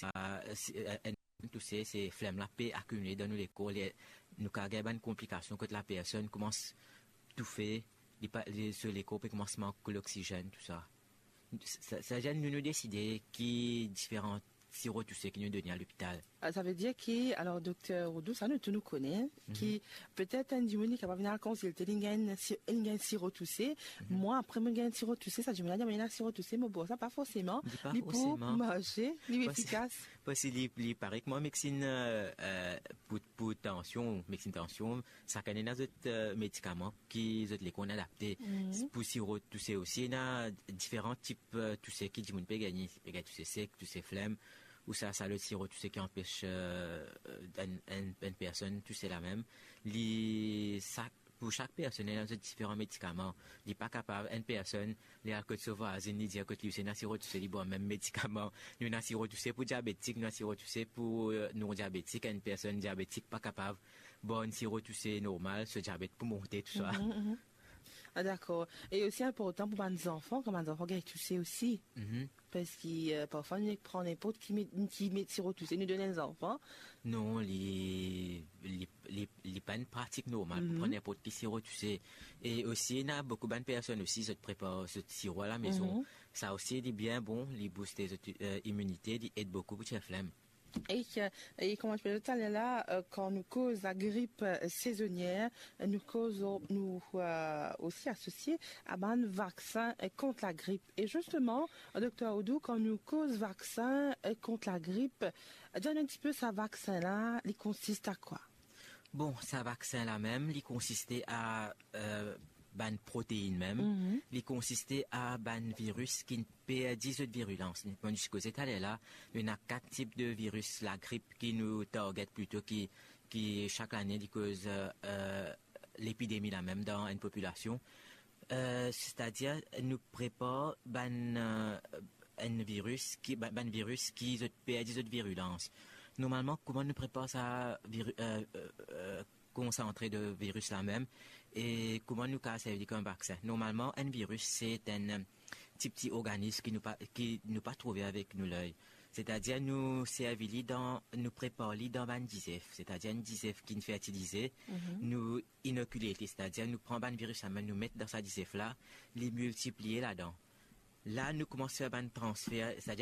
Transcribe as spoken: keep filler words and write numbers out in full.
Ah, si, eh, enn touse, se flem la pe akimile dan nou lekor, li, nou kav gagn bann konplikasion kot lapersonn koumans toufe, li pa, li, so lekor pe koumans mank loksizenn, tou sa. Sa, sa, sa, nou, nou deside ki diferan siro touse ki nou done a lopital. Ah, sa ve dir ki, alor, Dokter Roudou, sa nou tou nou kone, ki petet enn dimoun li kapav vinn al konsilte, li gagn si-, li gagn siro touse. Mwa, apre mo gagn siro touse, sa dimoun la dir, mo ena siro touse, mo bwar sa, pa forseman. Li pa li pou forseman marse, li efikas. Parski li, li parey kouma medsin, eh, eh, pou, pou tansion, medsin tansion, sakenn ena zot, eh, medikaman ki zot lekor inn adapte. Pou siro touse osi, ena diferan tip, eh, touse ki dimoun pe gagne. Pe gagn touse sek, touse flem, ou sa, sa lot siro touse ki anpes, eh, enn, enn, enn personn touse lamem. Li, sak, pou sak personn, ena zot diferan medikaman. Li pa kapav, enn personn, li al kot so vwazinn, li dir kot li osi ena siro touse, li bwar mem medikaman. Nou ena siro touse pou diabetik, nou ena siro touse pou, eh, non-diabetik. Enn personn diabetik pa kapav bwar enn siro touse normal, so diabet pou monte, tou sa. Ah, dakor. E osi inportan pou bann zanfan, kan bann zanfan gagn touse osi. Parski, eh, parfwa nou nek pran ninport ki me-, ki me-, siro touse, nou donn enn zanfan. Non, li, li, li, li pa enn pratik normal pou pran ninport ki siro touse. E osi, ena boukou bann personn osi, zot prepar zot siro alamezon. Sa osi, li bien bon, li booste zot, eh, iminite, li ed boukou pou tir flem. E, eh, e kouma ti pe dir taler la, eh, kan nou koz lagrip, eh, sezonier, nou koz, nou, eh, osi asosie a bann vaksin, eh, kont lagrip. E zisteman, Dokter Roudou, kan nou koz vaksin, eh, kont lagrip, eh, dir nou enn tipe sa vaksin la, li konsiste a kwa? Bon, sa vaksin lamem, li konsiste a, eh, bann proteinn mem. Li konsiste a bann viris ki perdi zot virilans. Kouma nou ti koze taler la, nou ena kat tip de viris lagrip ki nou target plito ki, ki sak lane li koz, eh, eh, lepidemi lamem dan enn popilasion. Eh, setadir, nou prepar bann, eh, enn viris ki, ba-, bann viris ki zot perdi zot virilans. Normalman, kouma nou prepar sa viri-, eh, eh, eh, konsantre de viris lamem, e kouma nou kav servi li kom vaksin? Normalman, enn viris, se enn, eh, ti, ti organis ki nou pa, ki nou pa trouve avek nou ley. Setadir, nou servi li dan, nou prepar li dan bann dizef. Setadir, enn dizef ki inn fertilize, nou inokile li, setadir nou pran bann viris lamem, nou met dan sa dizef la, li miltiplie ladan. La, nou koumans fer bann transfer, setadir